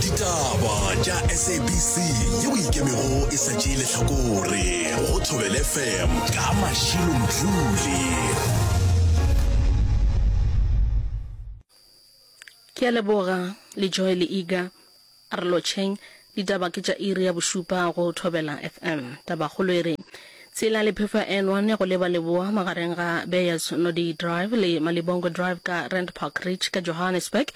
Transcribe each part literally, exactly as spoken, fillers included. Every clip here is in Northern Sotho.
Ditaba tša S A B C yeo ikemego e sa tšee lehlakore go Thobela F M ka Mashilo Mdluli. Ke a leboga le Joy le Iga. A re lotšheng. Ditaba ke tša iri ya bošupa go Thobela F M. Tabakgolo e re tsela le phefo ya N one ya go leba leboa magareng ga Beyers Naudé Drive le Malibongwe Drive ka Rand Park Ridge ka Johannesburg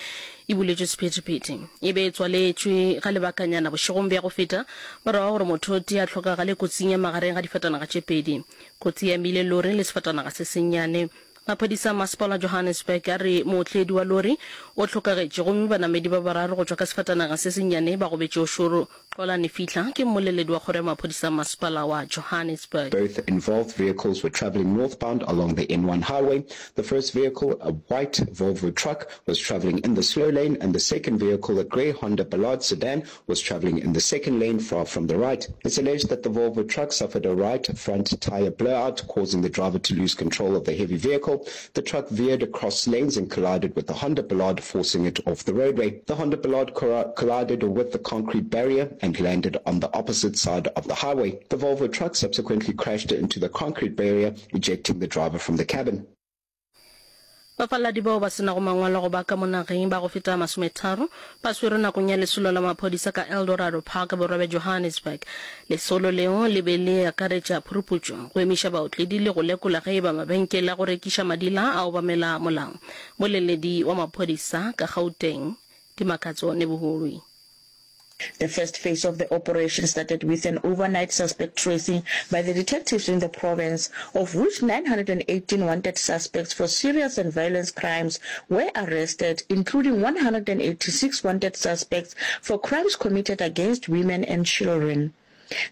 e buletšwe sephethephethe. E be e tswaletšwe ga lebakanyana bošegong bja go feta morago ga gore motho o tee a hlokagale kotsing ya magareng ga difatanaga tše pedi. Kotsi e amile lori le sefatanaga se sennyane. Maphodisa a masepala wa Johannesburg a re mootledi wa lori o hlokagetše gomme banamedi ba bararo go tšwa ka sefatanaga se sennyane ba gobetše o šoro. Xolani Fihla ke mmoleledi wa kgoro ya maphodisa a masepala wa Johannesburg. Both involved vehicles were traveling northbound along the N one highway. The first vehicle, a white Volvo truck, was traveling in the slow lane, and the second vehicle, a grey Honda Ballard sedan, was traveling in the second lane far from the right. It's alleged that the Volvo truck suffered a right front tire blowout, causing the driver to lose control of the heavy vehicle. The truck veered across lanes and collided with the Honda Ballard, forcing it off the roadway. The Honda Ballard collided with the concrete barrier and landed on the opposite side of the highway. The Volvo truck subsequently crashed into the concrete barrier, ejecting the driver from the cabin. Bafaladi bao ba se nago mangwalo a go ba ka mo nageng ba go feta masometharo ba swerwe nakong ya lesolo la maphodisa ka Eldorado Park borwa bja Johannesburg. Lesolo leo le be le akaretša phuruputšo, go emiša baotledi le go lekola ge e ba mabenkele a go rekiša madila a obamela molao. Moleledi wa maphodisa ka Gauteng, Dimakatso Nebuhulwi. The first phase of the operation started with an overnight suspect tracing by the detectives in the province, of which nine hundred eighteen wanted suspects for serious and violence crimes were arrested, including one hundred eighty-six wanted suspects for crimes committed against women and children.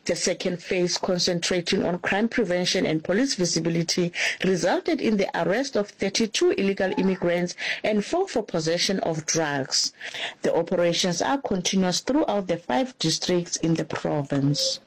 The second phase, concentrating on crime prevention and police visibility, resulted in the arrest of thirty-two illegal immigrants and four for possession of drugs. The operations are continuous throughout the five districts in the province.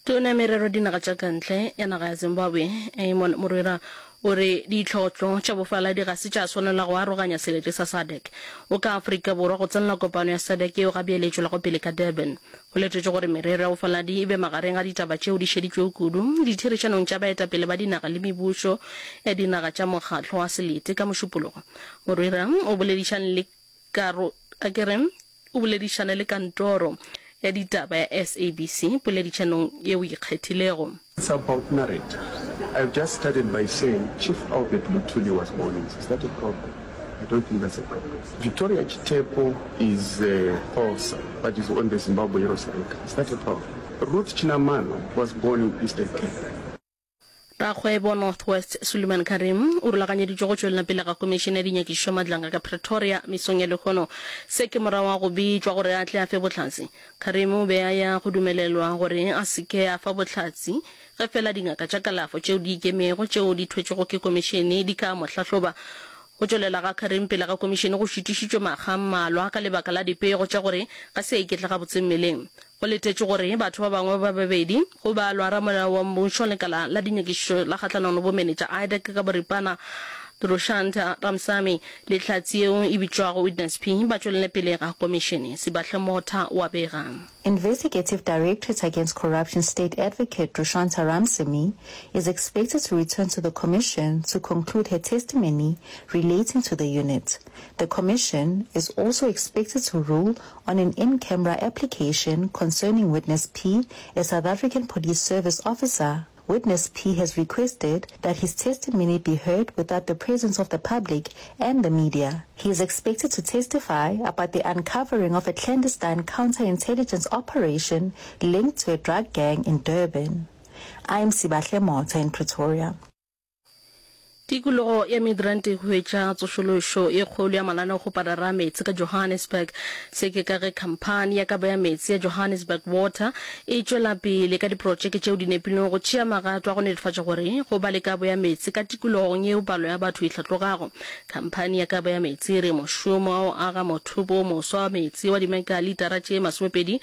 Tona ya merero dinaga tša ka ntle ya naga ya Zimbabwe Amon Murwira o re ditlhotlo tša bofaladi ga se tša swanela go aroganya selete sa SADC. O ka Afrika Borwa go tsenela kopano ya SADC yeo ga bjale e tšwelago pele ka Durban. Go letetšwe gore merero ya bofaladi e be magareng ga ditaba tšeo di šeditšwego kudu ditherišanong tša baetapele ba dinaga le mebušo ya dinaga tša mokgatlo wa selete ka Mošupologo. Murwira o boledišane le karo a ke re o boledišane le kantoro ya ditaba ya S A B C poledišanong yeo e ikgethilego. It's about narrative. I've just started by saying Chief Albert Luthuli was born in. Is that a problem? I don't think that's a problem. Victoria Chitepo is a Xhosa, but is on the Zimbabwe Heroes Record. Is that a problem? Ruth Chinamano was born in Eastern Cape. Rakgwebo North West Suleiman Carrim o rulaganyeditšwe go tšwelela pele ga Komišene ya Dinyakišišo Madlanga ka Pretoria mesong ya lehono. Se ke morago ga go bitšwa gore a tle a fe bohlatse. Carrim o be a ya go dumelelwa gore a se ke a fa bohlatse ge fela dingaka tša kalafo tšeo di ikemego tšeo di thwetšwego ke komišene di ka mo hlahloba. Go tšwelela ga Carrim pele ga komišene go šitišitšwe makga a mmalwa ka lebaka la dipego tša gore ga se a iketla gabotse mmeleng. Go letetšwe gore batho ba bangwe ba babedi, go balwa ramolao wa mmušo lekala la dinyakišišo la kgahlanong le bomenetša IDAC ka boripana Drushantha Ramsamy le hlatse yeo e bitšwago Witness P ba tšwelele pele ga komišene. Sibahle Motha o a bega. Investigative Directorate Against Corruption State Advocate Drushantha Ramsamy is expected to return to the commission to conclude her testimony relating to the unit. The commission is also expected to rule on an in-camera application concerning Witness P, a South African Police Service officer. Witness P has requested that his testimony be heard without the presence of the public and the media. He is expected to testify about the uncovering of a clandestine counterintelligence operation linked to a drug gang in Durban. I'm Sibahle Motha in Pretoria. Tikologo ya Midrand e hwetša tsošološo ye kgolo ya mananeokgoparara a meetse ka Johannesburg. Se ke ka ge khamphani ya kabo ya meetse ya Johannesburg Water e tšwela pele ka diprotšeke tšeo di nepilwego go tšea magato a go netefatša gore go ba le kabo ya meetse ka tikologong yeo palo ya batho e hlatlogago. Khamphani ya kabo ya meetse e re mošomo wa go aga mothopo o moswa wa meetse wa dimekalitara tše masomepedi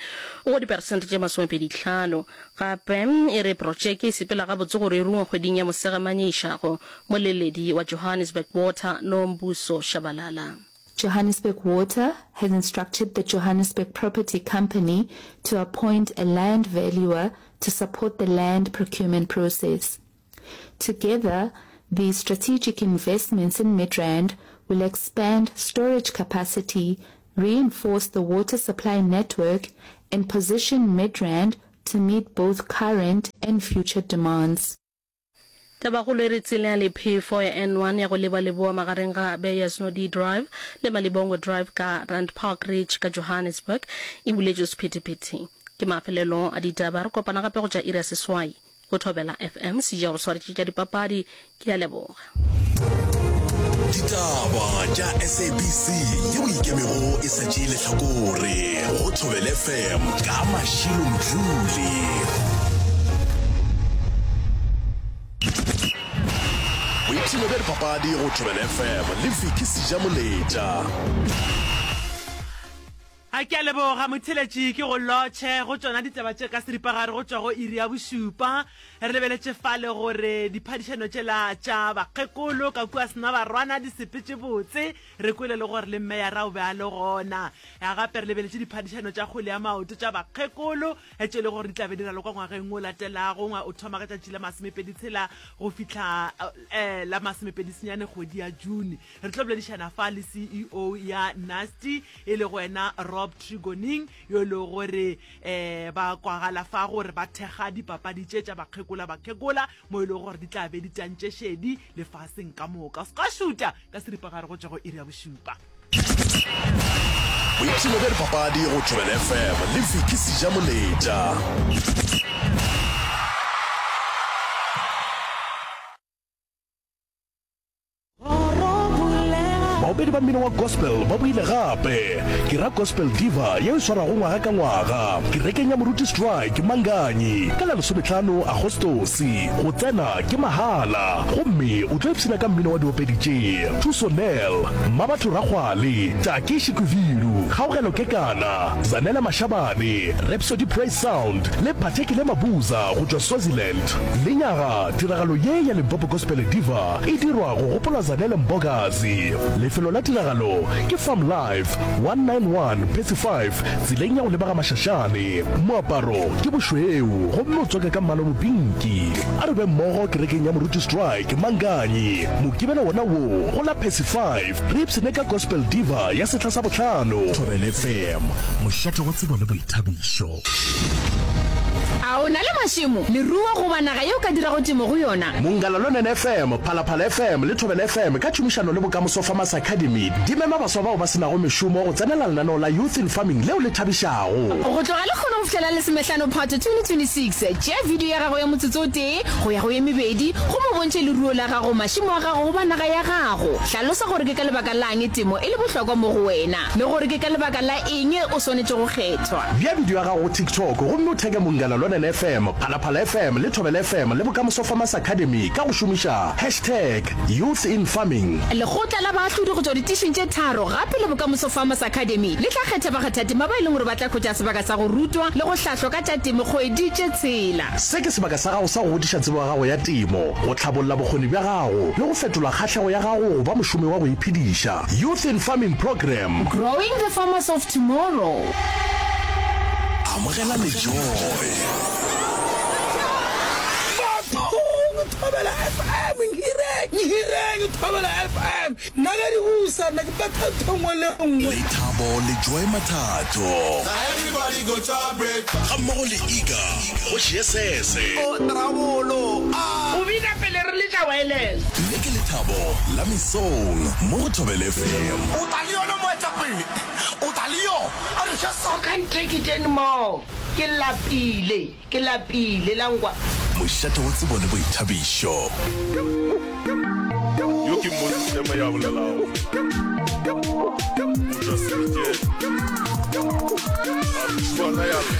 o go diperesente tše masomepedi hlano. Gape e re protšeke e sepela gabotse gore e rungwe kgweding ya Mosegamanye e išago. Moleledi wa Johannesburg Water, Nombuso Shabalala. Johannesburg Water has instructed the Johannesburg Property Company to appoint a land valuer to support the land procurement process. Together, these strategic investments in Midrand will expand storage capacity, reinforce the water supply network, and position Midrand to meet both current and future demands. Tabakgolo e re tsela ya lephefo ya N one ya go leba leboa magareng ga Beyers Naudé Drive le Malibongwe Drive ka Rand Park Ridge ka Johannesburg e buletšwe sephethephethe. Ke mafelelo a ditaba, re kopana gape go tša iri ya seswai go Thobela F M. Seja go swaretše tša dipapadi. Ke a leboga. Ditaba tša S A B C yeo ikemego e sa tšee lehlakore go Thobela F M ka Mashilo Mdluli. Boipshino bja dipapadi go Thobela F M le Vicky Sejamoletša. A ke a leboga motheletši ke go lotšhe go tšona ditaba tše ka seripagare go tšwa go iri ya bošupa. Re lebeletše fale gore diphadišano tšela tša bakgekolo ka kua Senabarwana di sepetše botse. Re kwele le gore le mmeyara o be a le gona. Gape re lebeletše diphadišano tša kgwele ya maoto tša bakgekolo tše e le gore di tla be di ralokwa ngwageng o latelago, o thoma ka tšatši la masomepedi tshela go fihla la masomepedi senyane kgwedi ya June. Re tlo boledišana fa le C E O ya Nasti e lego wena Rob Tregoning, yo e lego gore um ba kwagala fa gore ba thekga dipapadi tše tša bakgekola bakgekola mo e lego gore di tla be di tantše šedi lefaseng ka moka. Se ka šuta ka seripagare go tšwa go iri ya bošupa. Boipshino bja dipapadi go Thobela F M le Vicky Sejamoletša. Baopedi ba mmino wa gospel ba boile gape. Ke ra Gospel Diva yeo e swarwago ngwaga ka ngwaga kerekeng ya Moruti Strike Manganyi ka la lesomehlano Agostose. Go tsena ke mahala gomme o tlo ipshina ka mmino wa diopedi tše, Thuso Nel, Mmabatho Rakgwale, Taki Shikwivilu, Kgaogelo Kekana, Zanele Mashabane, Rhapsody Praise Sound le Phathekile Mabuza go tšwa Swaziland. Lenyaga tiragalo ye ya Limpopo Gospel Diva e dirwa go gopola Zanele Mbokazi. Lefelo la tiragalo ke Farm Life, one nine one Percy five, tseleng ya go leba ga Mashashane. Moaparo ke bošweu gomme o tswaka ka mmala o mopinki. A re be mmogo kerekeng ya Moruti Strike, Manganyi, Mokibelo wona wo go la Percy five, re ipshine ka Gospel Diva ya sehla sa bohlano. Thobela F M, mošate wa tsebo le boithabišo. A o na le mašemo, leruo goba naga ye o ka dirago temo go yona? Mongala Lonene F M, Phalaphala F M le Thobela F M ka tšhomišano le Bokamoso Farmers Academy di mema baswa bao ba se nago mešomo go tsenela lenaneo la Youth in Farming leo le thabišago. Go tloga lekgono go fihlela lesomehlano Phato twenty twenty-six, tšea video ya gago ya motsotso o tee go ya go ye mebedi gomme o bontšhe leruo la gago, mašemo a gago goba naga ya gago. Hlalosa gore ke ka lebaka la'ng temo e le bohlokwa mo go wena le gore ke ka lebaka la eng o swanetše go kgethwa. Bea video ya gago go TikTok gomme o theke Mongala Lonene F M, Phalaphala F M le Thobela F M le Bokamoso Farmers Academy ka go šomiša hashtag YouthInFarming. Lekgotla la baahlodi go tšwa ditišing tše tharo gape le Bokamoso Farmers Academy le tla kgetha bakgathatema ba e leng gore ba tla hwetša sebaka sa go rutwa le go hlahlwa ka tša temo kgwedi tše tshela. Se ke sebaka sa gago sa go godiša tsebo ya gago ya temo, go hlabolla bokgoni bja gago le go fetola kgahlego ya gago go ba mošomi wa go iphediša. Youth in Farming Programme. Growing the farmers of tomorrow. Amogela lejoe. Bathong, Thobela F M, nhireng, nhireng, Thobela F M. Nna ge di busa, nna ke betha ntho nngwe le nngwe. Lethabo le Joy Mathatho. Ga mmogo le Iga go Jesese. O bina pele re letša wireless. Le ke lethabo la mesong mo go Thobela F M. O tla le yona moetapele, o tla le yona. A re Jesu. I can't take it anymore. Ke lapile, ke lapile la nkwa. Mošate wa tsebo le boithabišo. Yo ke Moses Tema ya bolelago. O tšwa Sedikeng. A re tšhuana ya lla.